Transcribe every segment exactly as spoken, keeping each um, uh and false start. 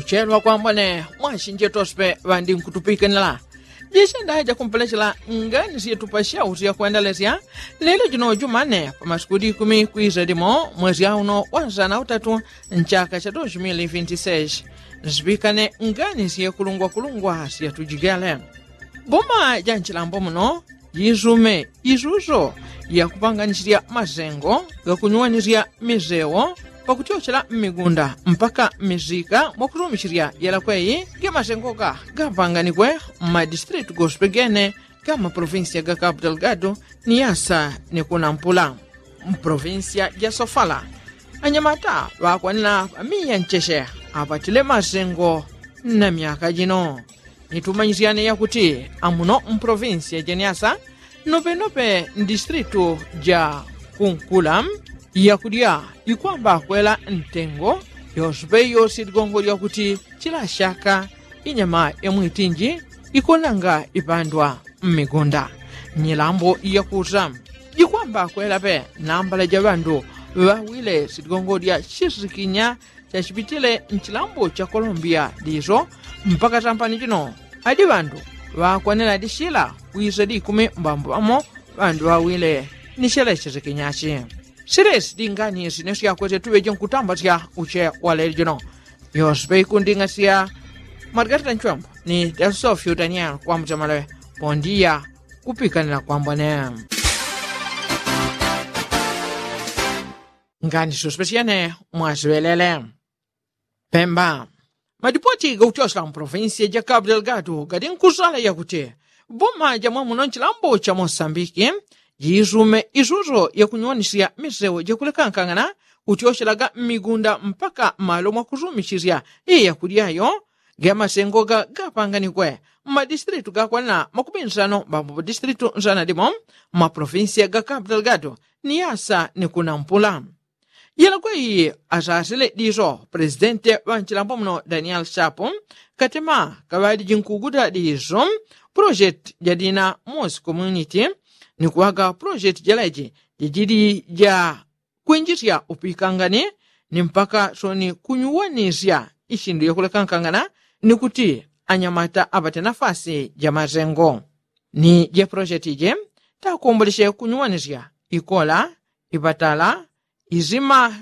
Chelwa kwambone mwasinje tospe ŵandi nkutupikanila. Jisenda jakumpelechela ngani syetupa syauti yakwendelesya lelo jino jumane pa masiku likumi kwisa limo mwesi auno wa nsana utatu nchaka cha dos mil vinti seis. Nsipikane ngani syekulungwakulungwa syatujigele. Boma ja nchilambo muno jisume isuso yakupanganisirya masengo gakunyuwanisya misewo pakutyochela mmigunda mpaka mmisika mwakusumisirya yelakweyi ge masengoka gapanganikwe mmadistritu goswe gene ga mmaprovinsiya ga kapu delgado ni yasa ni kunampula. Mprovinsiya ja sofala anyamata ŵakwanila ŵamiya ncheche apatile masengo na myaka jino. Nitumanyisyane yakuti amuno mprovinsiya ja nyasa nopenope mdistritu ja kunkula yakudya ikwamba kwela ntengo yosupe yosi ligongo lyakuti chila shaka inyama yamwitinji ikonanga ipandwa mmigunda nyilambo yakusa jikwamba kwelape nambala ja ŵandu ŵawile siligongo lya chisikinya chachipitile nchilambo cha kolombiya liso mpaka tampani chino adi ŵandu ŵakwanela dishila kwisa likumi mbambo ŵamo ŵandu ŵawile ni chele chisikinyachi. Silesi dingani sine syakwete tuŵeje nkutambasya uche waleli jino yospe ikunding'asya margarita nchwembo ni delsofio daniel kwambucha maleŵe pondiya kupikanila kwambone. Ngani sospesyene mwasiŵelele pemba. Madipoti gakutyosela mprovinsiya ja kapu delgado gadi nkusala yakuti boma ja mwamuno nchilambo cha mosambiki jisume isuso yakunyuwanisya misewo jakulekankang'ana kutyoselaga mmigunda mpaka malo mwakusumisisya iye yakudyayo ge masengo ga gapanganikwe mmadistritu gakwanila makumi nsano mbambo madistritu nsana limo mmaprovinsiya ga kapu delgado ni yasa ni kunampula. Yelakwe iyi asasile diso presidente ŵa nchilambo muno daniel shapu katema kaŵali jinkuguta diso project ja dina mos community ni kuŵaga project jaleji jajili ja kwinjisya upikangani ni mpaka soni kunyuwanisya ishindu yakulekankangana ni kuti anyamata apate nafasi ja masengo ni je project ije takombolesye kunyuwanisya ikola ipatala izima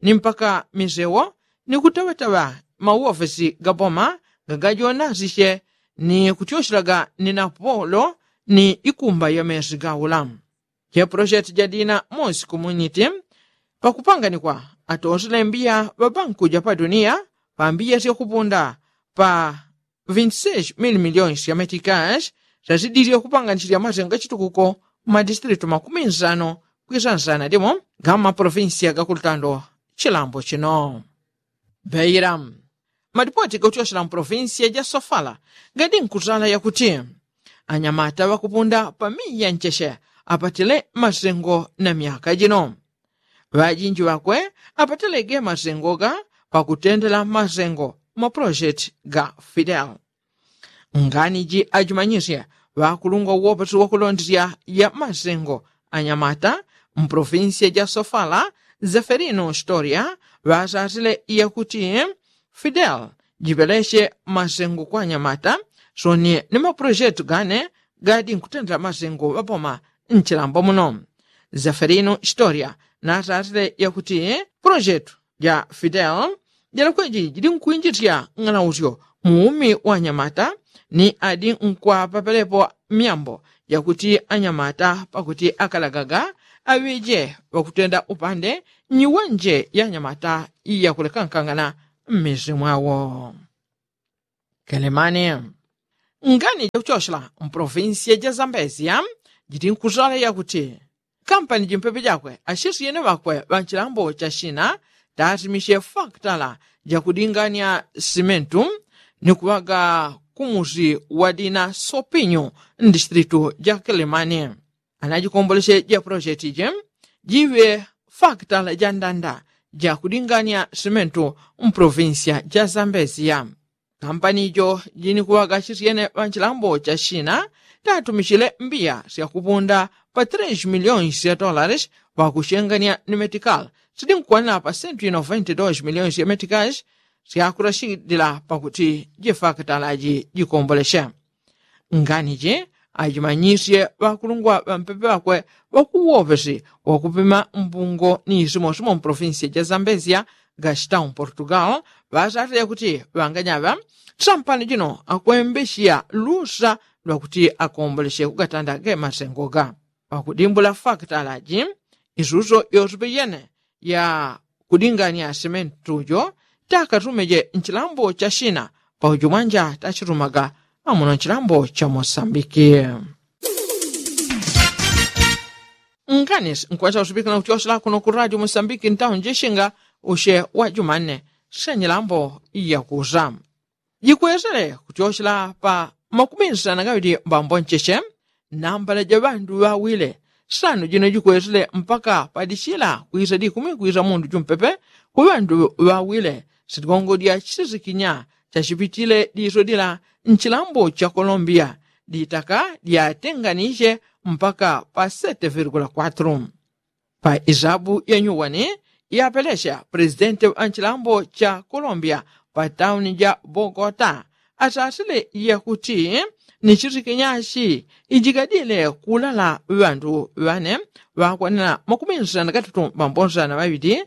ni mpaka misewo ni kutaŵataŵa mauofesi ga boma gagajonasisye ni kutyoselaga ni napolo ni ikumba ya mesi gaula. Che project ja dina mosi community pakupanganikwa atosele mbiya ŵa banku ja pa duniya pa mbiya syakupunda pa vinti seis mil miliones ya metikash syasidilye kupanganisirya masengo gachitukuko mmadistritu makumi nsano kwisa nsana limo ga mmaprovinsiya gakulutando chilambo chino. Beira. Madipoti gakutyosela mprovinsiya ja sofala gadi nkutala yakuti anyamata ŵakupunda pa miya ncheche apatile masengo na myaka jino ŵajinji ŵakwe apatile ge masengo ga pakutendela masengo mapulojeti ga fidel. Ngani ji ajimanyisye ŵakulungwa uwopesi wakulondesya ya masengo anyamata mprovinsiya ja sofala zeferino storia ŵasasile yakuti fidel jipelesye masengo kwa anyamata soni ni mapulojeti gane gadi nkutendela masengo ŵaboma nchilambo muno. Zeferino storia nasasile yakuti pulojeti ja fidel jalakweji jili nkwinjisya ng'anausyo mu umi wa anyamata ni adi nkwapapelepo myambo jakuti anyamata pakuti akalagaga aŵeje ŵakutenda upande nyiwenje ya anyamata yakulekankangana mmisi mwawo. Kelemani. Ngani jakuchosela mprovinsiya ja zambezia jiti nkuzala yakuti kampani jimpepe jakwe asisiyene ŵakwe ŵa nchilambo cha shina tasimisye faktala jakudingania simentu ni kuŵaga kumusi wa dina sopinyu mdistritu ja kelemani. Anajikombolesye ja pulojeti je jiŵe faktala ja ndanda jakudingania simentu mprovinsiya ja zambezia. Kampani jo jinikuŵaga chisyene ŵa nchilambo cha shina tatumichile mbiya syakupunda pa tres miliones ya dolares ŵakuchengania ni metikali sidinkwanila pa sentu ya noventa dos miliones ya metikali. syakurashidila pakuti jifakitalaji jikomboleshe. Nganiji ajimanyisye ŵakulungwa ŵampepe ŵakwe ŵakuwopesi wakupima mbungo ni isimosimo mpolofinsiya ja zambezia gastau mportugal ŵasatile kuti ŵanganyaŵa sampano jino akwembeshiya lusa lwakuti akomboleshe kugatanda gemasengoga. Pakudimbula fakitalaji isuso yosepe yene ya kudingania simentujo takatumeje nchilambo cha shina paujo mwanja tachitumaga amuno nchilambo cha mosambiki. Nkanis nkwacha usipikila kutyoshela kuno ku radio mosambiki ntaunjishinga ushe wa jumanne shenyilambo yakusa jikwesele kutyoshela pa makumi nsana gawili mbambo ncheche nambala ja ŵandu ŵawile sano jino jikwesele mpaka padishila kwisa dikumi kwisa mundu jumpepe ku ŵandu ŵawile sitigongo dya chisikinya chachipitile diso dila nchilambo cha kolombiya ditaka dyatenganishe mpaka pa sete virgula kwatru. Pa isabu ya nyuwani yapelesya pulesidenti wa nchilambo cha kolombiya pa tauni ja bogota asasile yakuti ni chisikinyashi ijigadile kulala ŵandu ŵane ŵakwanila makumi nsana na katatu mbambo nsana ŵaŵili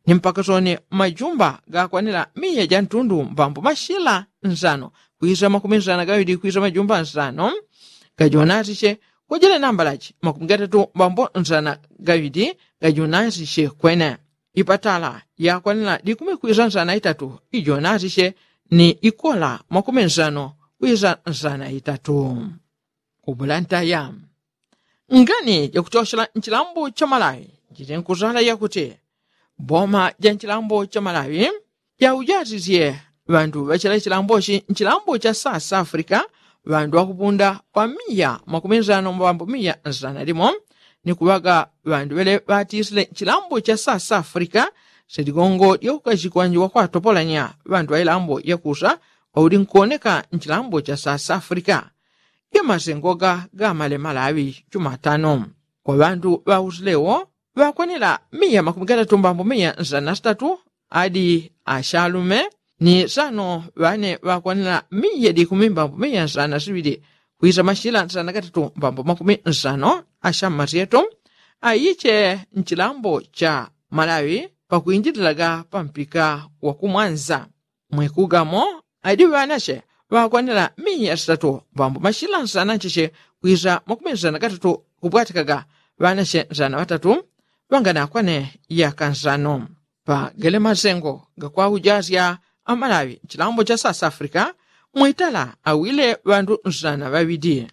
ni mpaka soni majumba gakwanila miya ja ntundu mbambo mashila nsano kwisa makumi nsana na gawili kwisa majumba nsano gajonasishe kujele nambalaji makumi gatatu mbambo nsana gawili gajonasishe kwene ipatala yakwanila dikumi kwisa nsana itatu ijonasishe ni ikola makumi nsano kwisa nsana itatu. Kubulantaya ngani jakuchoshela nchilambo cha malawi jili nkuzala yakuti boma ja nchilambo cha malawi jaujasisye ŵandu ŵachela chilambochi nchilambo cha south africa ŵandu ŵakupunda pa miya makumi nsano mbambo miya nsana limo ni kuŵaga ŵandu ŵele ŵatisile nchilambo cha south africa seligongo lyakukachikwanji wakwatopolanya ŵandu ŵailambo yakusa wauli nkuoneka nchilambo cha south africa. Gemasengoga gamale malawi jumatano kwa ŵandu ŵausilewo ŵakwanila miya makumi gatatu mbambo miya nsana na sitatu adi ashalume ni sano ŵane ŵakwanila miya dikumi mbambo miya nsana na siŵili kwisa mashila nsana na gatatu mbambo makumi nsano ashammasyeto aiche nchilambo cha malawi pakwinjililaga pampika wakumwanza. Mwikugamo adi ŵanache ŵakwanila miya sitatu ŵambo mashila nsana ncheche kwisa makumi nsana na katatu kupwatikaga ŵanache nsana ŵatatu ŵanganakwane yaka nsano. Pagele masengo gakwaujasya amalawi nchilambo cha south africa mwitala awile ŵandu nsana ŵaŵidi.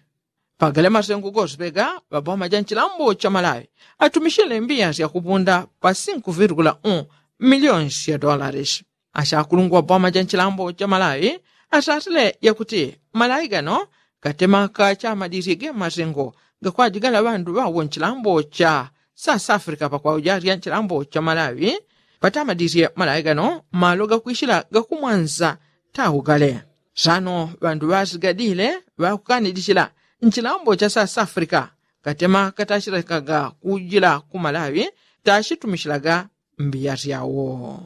Pagale masengo gosepega ŵaboma ja nchilambo cha malawi atumishile mbiya syakupunda pa sinku virgula un miliyoni sya dolares. Ashakulungwa boma ja nchilambo cha malawi asatile yakuti malawi gano katemaka chamadisye ge masengo gakwajigala ŵandu ŵawo nchilambo cha south africa pakwaujarya nchilambo cha malawi. Patamadisye malawi gano malo gakwishila gakumwanza taugale. Sano ŵandu ŵasigadile ŵakukanidisila nchilambo cha south africa katema katachilekaga kujila ku malawi tachitumishilaga mbiya syawo.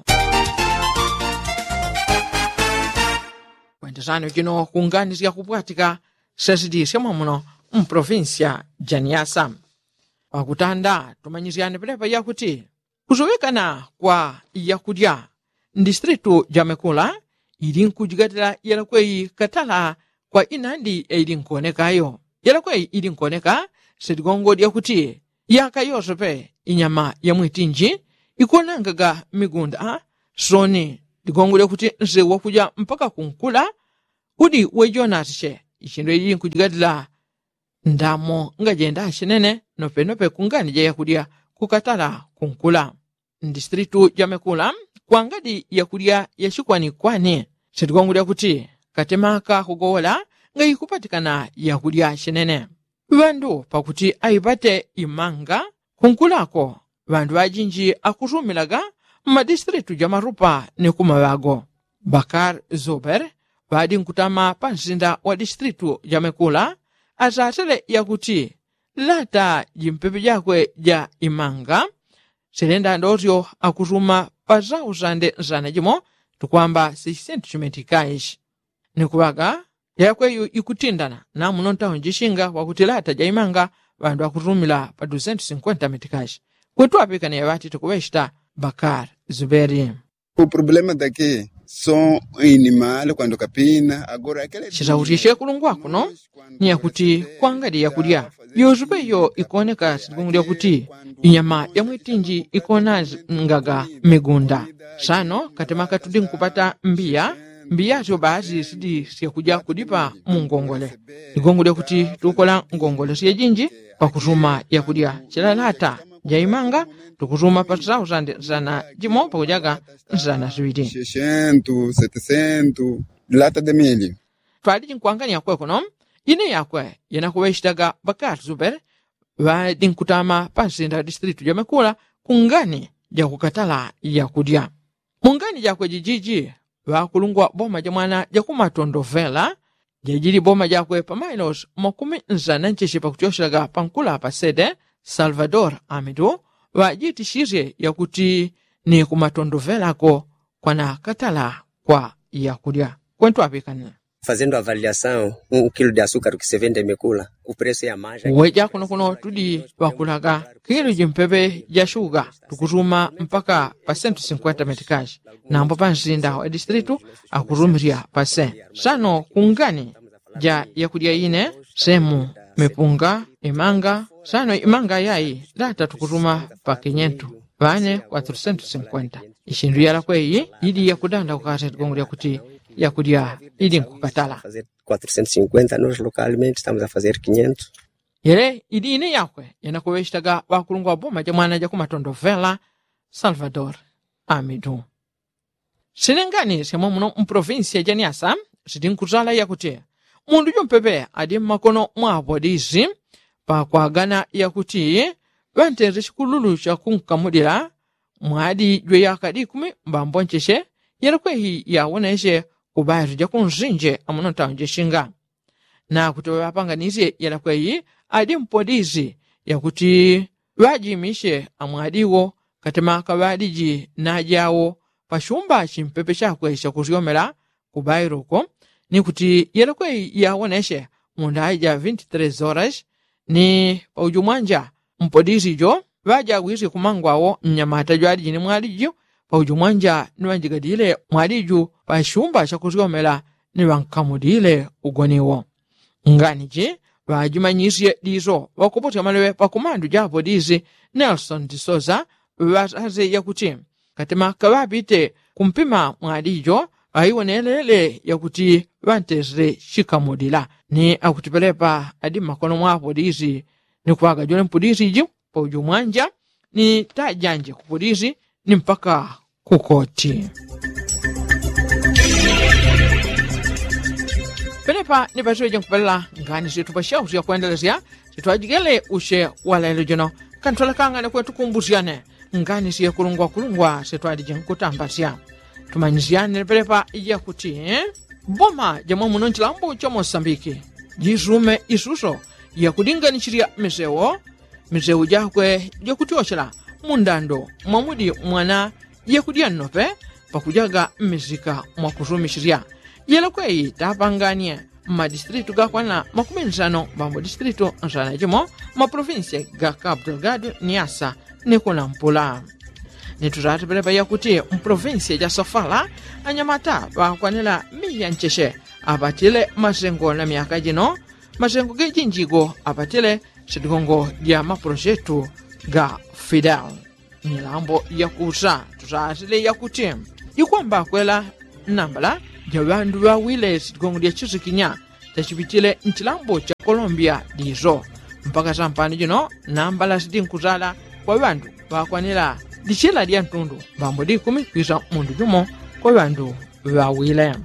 Kwendesano jino kunganisya kupwatika sesidi syamwamuno mpolofinsya ja niasa. Pakutanda tumanyisyane pelepa yakuti kusuŵikana kwa yakulya mdistritu ja mekula ili nkujigatila yalakweyi katala kwa inandi yaili nkuonekayo. Yalakweyi ili nkuoneka siligongo lyakuti yaka yosepe inyama ya mwitinji ikuonangaga mmigunda soni ligongo lyakuti nsewu wakuja mpaka kunkula udi wejonasishe. Ichindwe ili nkujigatila ndamo ngajenda achinene nopenope kungani ja yakulya kukatala kunkula. Mdistritu ja mekula kwangadi yakulya yachikwanikwani sitikwangulya kuti katemaka kugowola ngaikupatikana yakulya achinene. Ŵandu pakuti aipate imanga kunkulako ŵandu ŵajinji akusumilaga mmadistritu ja marupa ni kumaŵago. Bakar zuber ŵadi nkutama pa nsinda wa distritu ja mekula asasele yakuti lata jimpepe jakwe ja imanga silenda ndosyo akusuma pa sausande nsana jimo tukwamba six sentu chimetikaishi. Ni kuŵaga yakweyu ikutindana na muno ntauni jishinga wakuti lata jaimanga ŵandu ŵakutumila pa dusentu sinkwenta metikashi. Kwetu apikane yaŵati tukuŵeshita bakari zuberi. Uproblema dake so inimale kwandu kapina agora akele chitauti chekulungwa kuno ni yakuti kwangadi yakulya yozupe iyo ikooneka siligungulya kuti inyama yamwitinji ikoonangaga mmigunda. Sano katemaka tudi nkupata mbiya mbiya syo baasi sidi syakuja kudipa mu ngongole. Ligongolya kuti tukola ngongole syejinji pakutuma yakulya chilalata jaimanga tukutuma pa sausandi nsana jimo pakujaga nsana siŵili. Seshentu setesentu lata de milio. Twaliji nkwangania kwekuno ine yakwe yenakuŵeshitaga bakari zuberi ŵadi nkutama pa nsinda distritu jamekula ku ngani jakukatala yakulya. Mu ngani jakwe jijiji ŵakulungwa boma jamwana jakumatondovela jajili boma jakwe pa mailosi makumi nsana ncheche pakutyoshelaga pankula pa sede salvador amidu ŵajitishisye yakuti ni kumatondovelako kwana katala kwa yakulya. Kwentu aŵikanila fazendo avaliasaun un kilo de asukari ku seventa imekula ku presu ya maja. Uweja kuno kuno tudi ŵakulaga kilo jimpepe ja shuga tukutuma mpaka pa sentu sinkwenta metikashi. Nambo pa nsinda wa distritu akutumisya pa se sano kungani ja yakulya ine semu mipunga imanga sano imanga yayi lata tukutuma pa kinyentu ŵane kwatrusentu sinkwenta. Ishindu yalakwe iyi ili yakudanda kukasa ligongo lyakuti yakulya ili nkukatala. Kwatrusentu sinkwenta nos lokalmente tamuza fazer kinyentu. Yele ili ine yakwe yanakuŵeshitaga ŵakulungwa boma jamwana jakumatondovela salvador amidu. Sinengani syamwamuno mu provinsiya ja niasa sitinkutala yakuti mundu jumpepe adi mmakono mwa apolisi pakwagana yakuti ŵantenze chikululu chakunkamulila mwadi jwe yaka dikumi mbambo ncheche yelekwehi yawoneche kubaetu jakunsinje amuno ntauni jachinga. Nakuti ŵaŵapanganisye yelekwehi adi mpolisi yakuti ŵajimishe amwadi wo katemaka ŵaliji najawo pachumba chimpepe chakwe chakusyomela kubailo uko. Ni kuti yelekwe yawoneche mundaya ja vinti tres horas ni paujumwanja mpodisi jo ŵajawisye kumangwawo mnyamata jwaliji ni mwaliji paujumwanja ni ŵanjigadile mwaliju pachumba chakusyomela ni ŵankamudile ugoniwo. Nganiji ŵajimanyisye diso ŵakupusya maleŵe pakumandu ja apolisi nelson disosa ŵasaze yakuti katemaka ŵapite kumpima mwalijo ŵaiwonelele yakuti ŵantesile chikamulila ni akuti pelepa adi mmakono mwa apolisi ni kuŵagajule mpudisi ji paujo mwanja ni tajanje kupolisi ni mpaka kukoti. Penepa ni pasiŵeje nkupelela ngani syetu pasyausya kwendelesya sitwajigele usye walailo jino kantwalekangane kwetu kumbusyane ngani syekulungwakulungwa sitwalije nkutambasya. Tumanyisyanile penepa yakuti boma jamwamuno nchilambo cha mosambiki jisume isuso yakulinganisirya misewo misewo jakwe jakutyochela mundando mwamudi mwana jekudya nnope pakujaga mmisika mwakusumisirya. Yelekweyi tapanganie mmadistritu gakwana makumi nsano mbambo distritu nsana jimo mmaprovinsiya ga kapu delgado ni asa ni kunampula. Ni tutatepelepa yakuti mprovinsiya ja sofala anyamata ŵakwanila miya ncheche apatile masengo na myaka jino masengo gejinjigo apatile sitigongo ja maprojetu ga fidel. Milambo yakusa tusasile yakuti jikwamba kwela nambala ja ŵandu ŵawile sitigongo ja chisikinya chachipitile nchilambo cha kolombia diso mpaka sampano jino nambala sitinkusala kwa ŵandu ŵakwanila dichila dya ntundu mbambo dikumi kwisa mundu jumo kwa ŵandu ŵawile.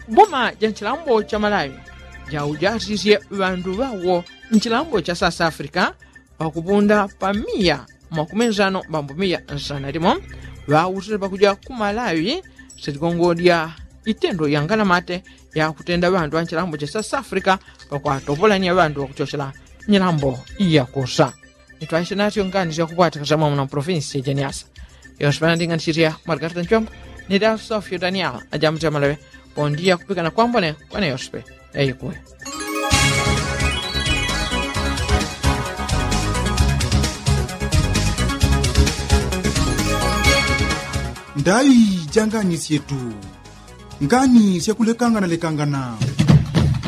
Boma ja nchilambo cha malawi jaujasisye ŵandu ŵawo nchilambo cha south africa pakupunda pa miya makumi nsano mbambo miya nsana limo ŵausile pakuja ku malawi sitigongo dya itendo yanganamate yakutenda ŵandu ŵa nchilambo cha south africa pakwatopolanya ŵandu ŵakuchochela nyilambo yakusa. Itwaisye nasyo ngani syakupwatika samwamuna mu provinsi ya janiasa yonse panandinganisisya margarita nchombo. Ni dasofyo daniel ajamutya maleŵe. Pondiya kupikana kwambone kwane yoswe. Eyikuwe. Ndaŵi janganisye tu. Ngani syakulekangana lekangana.